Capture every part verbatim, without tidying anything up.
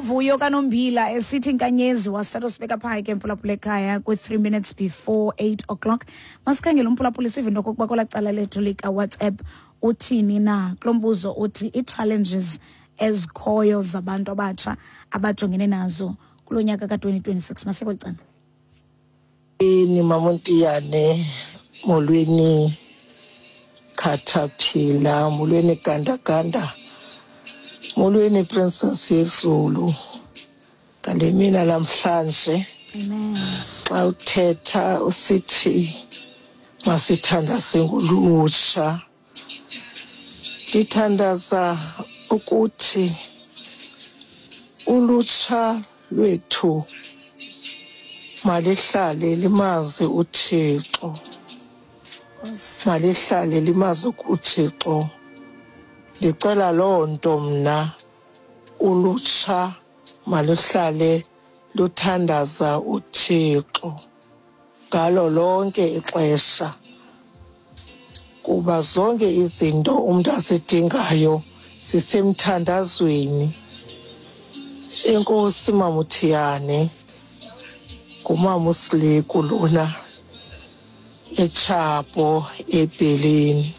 Nguvuyo kaNombila esithi inkanyezi wasithatha sibeka phaa ke, mphulaphula ekhaya, kwi-three minutes before eight o'clock. Masikhangele umphulaphula, sive into okokuba kwelaa cala lethu likaWhatsApp uthini na kulo mbuzo uthi ii-challenges ezikhoyo zabantu abatsha abajongene nazo kulo nyaka ka-twenty twenty-six. Masiye kweli cala. Molweni Mamontiyane, molweni Khathaphila, molweni Gandaganda, molweni Princess yeZulu. Ngale mina namhlanje Amen. Xa uthetha usithi masithandaze ngolutsha, ndithandaza ukuthi ulutsha lwethu malihlale limazi uThixo, malihlale limazi uThixo. Ndicela loo nto mna, ulutsha maluhlale luthandaza uThixo ngalo lonke ixesha, kuba zonke izinto umntu azidingayo zisemthandazweni. Enkosi Mamuthiyane, ngumama uSileku lona eTshapo eBheleni.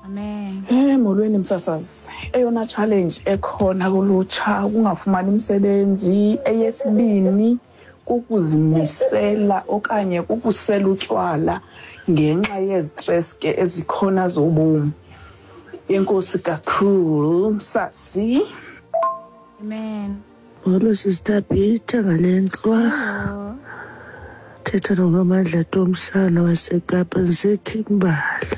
Amen. Eh molweni msasazi. Eyona challenge ekhona kulutsha kungafumani umsebenzi, eyesibini kukuzimisela okanye kukusela utywala ngenxa yezistress ke ezikhona zobomi. Enkosi kakhulu msasi. Amen. Molo Sister Peter ngale ntlwa. Thetha noNomandla Tomsana waseKapa ndiseKhimbali.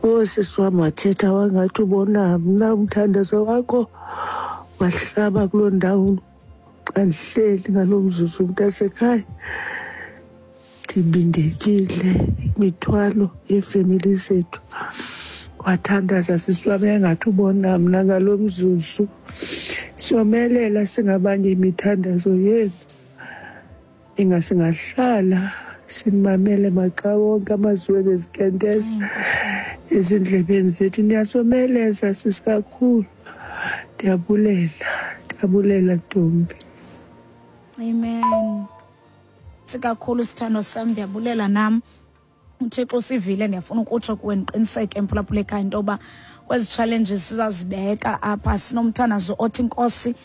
Oh sisi wam wathetha wangathi ubona mna, umthandazo wakho wahlaba kuloo ndawo xa ndihleli ngaloo mzuzu mntasekhaya. Ndibindekile imithwalo yeefemeli zethu. Wathandaza sisi wam yangathi ubona mna ngaloo mzuzu. Siyomelela singabanye imithandazo yenu. Ingasingahlala sinimamele maxa wonke amazwi wenu ezikenteza ezindlebeni zethu. Niyasomeleza sisi kakhulu. Ndiyabulela, ndiyabulela ntombi. Amen. Sikakhulu sithando sam, ndiyabulela nam. uThixo usivile, ndiyafuna ukutsho kuwe ndiqiniseke mphulaphula ekhaya into yoba kwezi challenges sizazibeka apha sinomthandazo othi Nkosi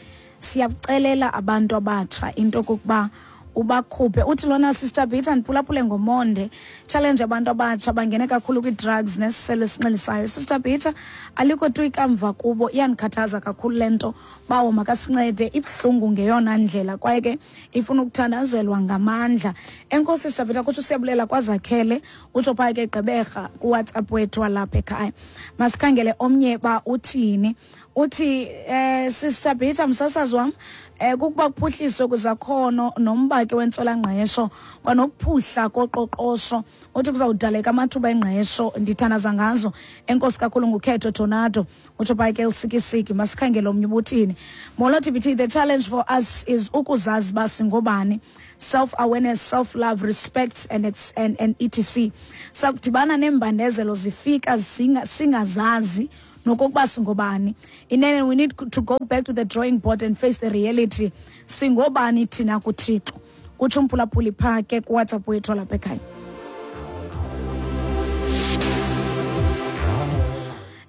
siyakucelela abantu abatsha into yokokuba ubakhuphe. Uthi lona Sister Peter, ndiphulaphule ngomonde. Challenge abantu abatsha bangene kakhulu kwi-drugs nesiselo esinxilisayo. Sister Peter, alikho tu ikamva kubo, iyandikhathaza kakhulu le nto. Bawo makasincede, ibuhlungu ngeyona ndlela kwaye ke ifuna ukuthandazelwa ngamandla. Enkosi Sister Peter, kutsho siyabulela kwaZakhele, utsho phaa ke Gqeberha kuWhatsApp wethu walapha ekhaya. Masikhangele omnye ba uthini. Uthi eh Sister Peter, msasazi wam, eh kukuba kuphuhliswe kwizakhono nomba ke wentswelangqesho kwanokuphuhla koqoqosho. Uthi kuzawudaleka amathuba engqesho, ndithandaza ngazo. Enkosi kakhulu ngukhetho Tornado, utsho phaa ke Lusikisiki. Masikhangele omnye ubuthini. Molo T B T, the challenge for us is ukuzazi uba singobani, self-awareness, self-love, respect and, and, and et cetera. Sakudibana neembandezelo zifika singa, singazazi nokokuba singobani. Inene we need to go back to the drawing board and face the reality. Singobani thina kuThixo? Kutsho umphulaphuli phaa ke kuWhatsApp wethu lapha ekhaya.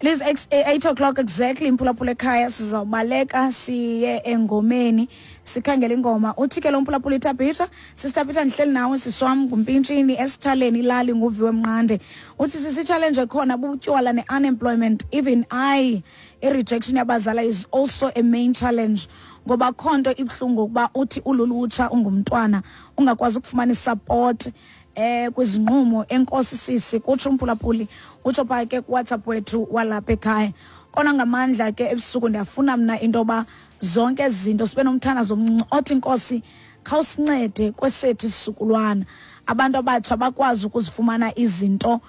It is eight o'clock exactly, mphulaphula ekhaya. Sizawubaleka siye engomeni sikhangele ingoma. Uthi ke lo mphulaphula iTabitha, Sister Peter, ndihleli nawe siswam ngumpintshini esithaleni ilali nguviwe Mnqande. Uthi sisi challenge ekhona butywala ne-unemployment. Even I, i-rejection yabazala is also a main challenge, ngoba khonto ibuhlungu ukuba uthi ululutsha ungumntwana ungakwazi ukufumana isupport eh kwizinqumo. Enkosi sisi, kutsho umphulaphuli, utsho phaa ke kuWhatsApp wethu walapha ekhaya. Kona ngamandla ke ebusuku ndiyafuna mna into yoba zonke ezi zinto sibe nomthandazo omncinci othi Nkosi khawusincede kwesethu isizukulwana. Abantu abatsha bakwazi ukuzifumana izinto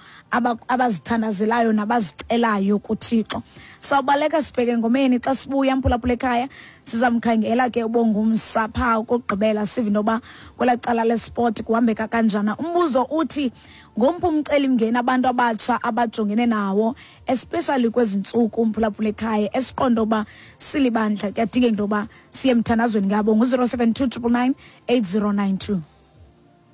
abazithandazelayo nabazicelayo kuThixo. Sawubaleka sibheke ngomeni. Xa sibuya, mphulaphula ekhaya, sizamkhangela ke uBongumsa phaa ukugqibela, sive into yoba kwelaa cala lesport kuhambeka kanjani. Umbuzo uthi, ngomphi umcelimngeni abantu abatsha abajongene nawo, especially kwezi ntsuku, mphulaphula ekhaya, esiqonda uba silibandla kuyadingeka into yoba siye emthandazweni ngabo? Ngu-zero seven two triple nine eight zero nine two.